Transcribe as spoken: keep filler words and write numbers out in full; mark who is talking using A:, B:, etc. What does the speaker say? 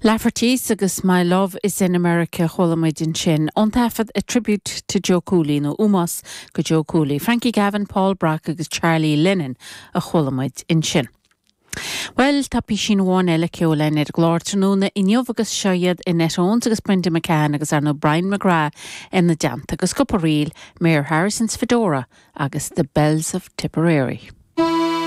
A: Lafferty's agus My Love is in America chuala muid ansin ón taifead a tribute to Joe Cooley nó ómós go Joe Cooley. Frankie Gavin, Paul Brock agus Charlie Lennon a chuala muid ansin. Well tá píosa amháin eile ceoil ar an gclár tráthnóna inniu agus seo iad Annette Owens agus Brenda McCann agus ar ndóigh Brian McGrath ina dteannta agus cúpla ríl Mayor Harrison's Fedora agus The Bells of Tipperary.